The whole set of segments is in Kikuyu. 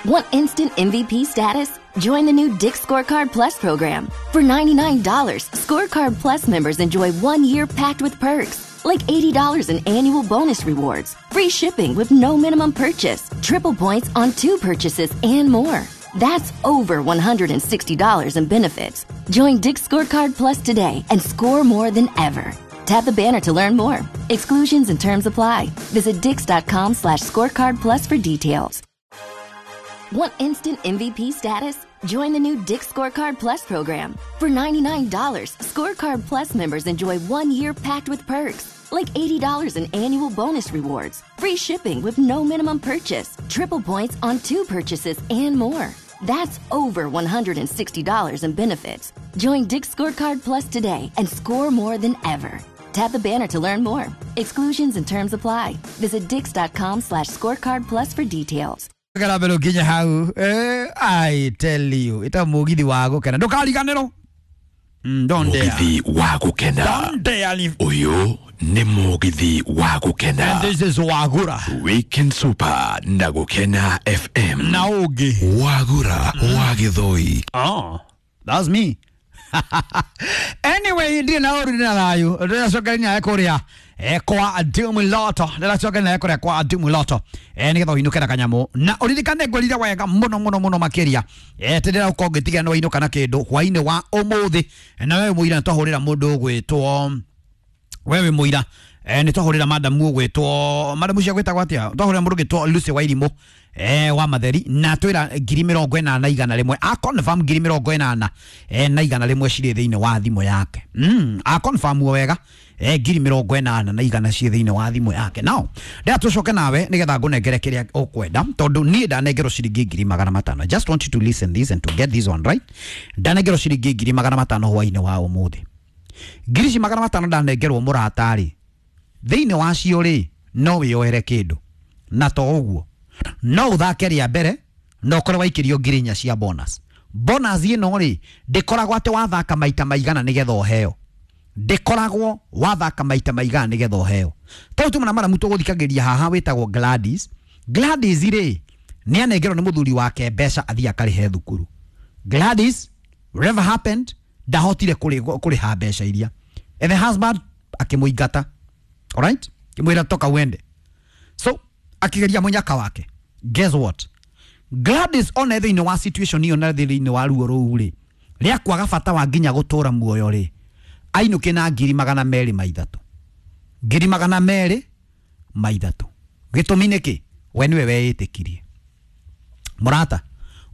Want instant MVP status? Join the new Dick's Scorecard Plus program. For $99, Scorecard Plus members enjoy 1 year packed with perks, like $80 in annual bonus rewards, free shipping with no minimum purchase, triple points on two purchases, and more. That's over $160 in benefits. Join Dick's Scorecard Plus today and score more than ever. Tap the banner to learn more. Exclusions and terms apply. Visit dicks.com/scorecard plus for details. Want instant MVP status? Join the new Dick's Scorecard Plus program. For $99, Scorecard Plus members enjoy 1 year packed with perks, like $80 in annual bonus rewards, free shipping with no minimum purchase, triple points on two purchases, and more. That's over $160 in benefits. Join Dick's Scorecard Plus today and score more than ever. Tap the banner to learn more. Exclusions and terms apply. Visit dicks.com/scorecard plus for details. Kara mbere ũkinye hau. I tell you, ita mugithi wa gukena, ndukariganĩrwo. Don't dare. Mugithi wa gukena. Don't dare leave. Uyu ni mugithi wa gukena. And this is Wagura. Weekend Super na Gukena FM. Na ũngĩ. Wagura wa Gĩthũi. Oh, that's me. Anyway, ndirĩ na ũru, ndĩ na thayũ. Ndĩracokeria nawe kũrĩa kwa Dumuloto, ndĩracokeria nawe kũrĩa kwa Dumuloto nĩgetha ũinũke na kanyamũ, na ũririkane ngwĩrire wega mũno mũno mũno makĩria tĩndĩra ũkorwo ngĩtigia nĩ wainũka na kĩndũ hwainĩ wa ũmũthĩ. Na wewe mũira, nĩtwahũrĩra mũndũ ũgwĩtwo, wewe mũira, nĩ twahũrĩra madamu ũgwĩtwo, madamu cia gwĩtagwo atĩa, twahũrĩra mũndũ ũgwĩtwo Lucy Wairimũ wa Matheri, na twĩra 801,100, a confirm 801,100 cirĩ thĩinĩ wa thimũ yake. A confirm wega, 801,100 ciĩ thĩinĩ wa thimũ yake. Now ndĩra tũcoke nawe nĩgetha ngũnengere kĩrĩa ũkwenda, tondũ niĩ ndanengerwo ciringi 500,000. I just want you to listen this and to get this one right. Ndanengerwo ciringi 500,000 hwainĩ wa ũmũthĩ. Ngiri ici 500 ndanengerwo, mũratarĩ thĩinĩ wacio rĩ, no wĩyoere kĩndũ, na to ũguo, no ũthake rĩa mbere na ũkorwo waikĩrio 4,000 cia bonus. Bonus ĩno rĩ, ndĩkoragwo atĩ wathaka maita maigana nĩgetha ũheo, ndĩkoragwo wathaka maita maigana nĩgetha ũheo. Tondũ tuma na maramu tũgũthikagĩria haha wĩtagwo Gladys. Gladys rĩ, nĩ anengerwo nĩ mũthuri wake mbeca athiĩ akarĩhe thukuru. Gladys, whatever happened, ndahotire kũrĩha mbeca iria, and the husband akĩmũingata, alright, akĩmwĩra toka uende. So akĩgeria mũnyaka wake. Guess what? Gladys ona thĩinĩ wa situation ĩyo na thĩinĩ wa ruo rũu rĩ, rĩa kwaga bata wa nginya gũtũra muoyo rĩ, ainũke na 203,000, 203,000. Gĩtũmi nĩ kĩ? We nĩwe weĩtĩkirie. Mũrata,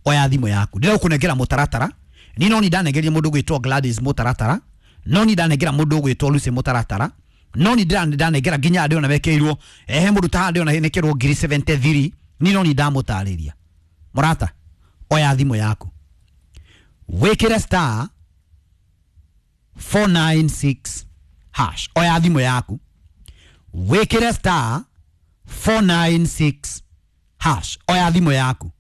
oya thimũ yaku, ndĩra mũtaratara. Ni no ni ndanengeria mũndũ gwĩtwo Gladys mũtaratara, no ni ndanengera mũndũ gwĩtwo Lucy mũtaratara, no ni ndanengera nginya andĩ ona mekĩirwo ehe mũndũ ta andĩ ona nĩkĩrwo 73,000. Ni no ni ndamũtarĩria. Mũrata, oya thimũ yaku, wĩkĩre *496#. Oya thimũ yaku, wĩkĩre *496#. Oya thimũ yaku,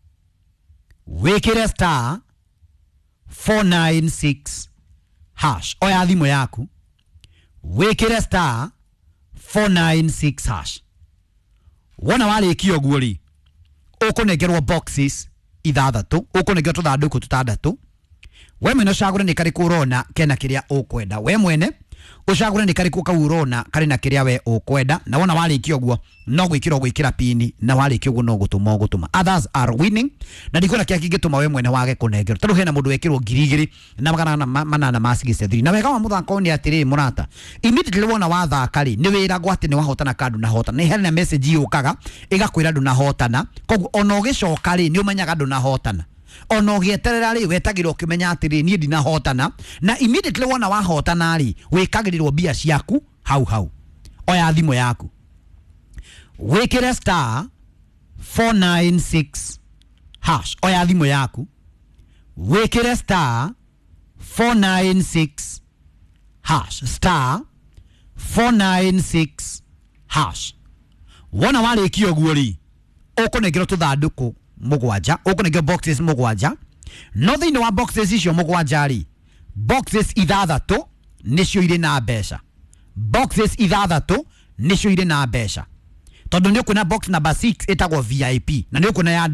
wĩkĩre *496#. Oya thimũ yaku, wĩkĩre *496#. Wona warĩkia ũguo rĩ, ũkũnengerwo boxes ithathatũ, ũkũnengerwo tũthandũkũ tũtandatũ. We mwene ũcagũre nĩ karĩkũ ũrona kena kĩrĩa ũkwenda. We mwene ũcagũre nĩ karĩkũ kau ũrona karĩ na kĩrĩa we ũkwenda. Na wona warĩkia ũguo, no gwĩkĩra ũgwĩkĩra pini, na warĩkia ũguo no gũtũma ũgũtũma. Others are winning, na ndikuona kĩrĩa kĩngĩtũma we mwene wage kũnengerwo, tondũ hena mũndũ wekĩrwo 2863. Na wega wa mũthako ũyũ nĩ atĩrĩ, mũrata, immediately wona wathaka rĩ, nĩ wĩragwo atĩ nĩ wahotana kana ndũnahotana. Nĩ hena message yũkaga ĩgakwĩra ndũnahotana, koguo ona ũgĩcoka rĩ, nĩ ũmenyaga ndũnahotana. Ona ũgĩeterera rĩ, wetagĩrwo ũkĩmenya atĩrĩ, niĩ ndinahotana. Na immediately wona wahotana rĩ, wĩkagĩrĩrwo mbia ciaku hau hau. Oya thimũ yaku, wĩkĩre *496#. Oya thimũ yaku, wĩkĩre *496#, *496#. Wona warĩkia ũguo rĩ, ũkũnengerwo tũthandũkũ mũgwanja, ũkũnengerwo boxes mũgwanja. No thĩinĩ wa boxes icio mũgwanja rĩ, boxes ithathatũ nĩcio irĩ na mbeca, boxes ithathatũ nĩcio irĩ na mbeca, tondũ nĩ ũkuona box number 6 ĩtagwo VIP na nĩ ũkuona yandĩkĩtwo.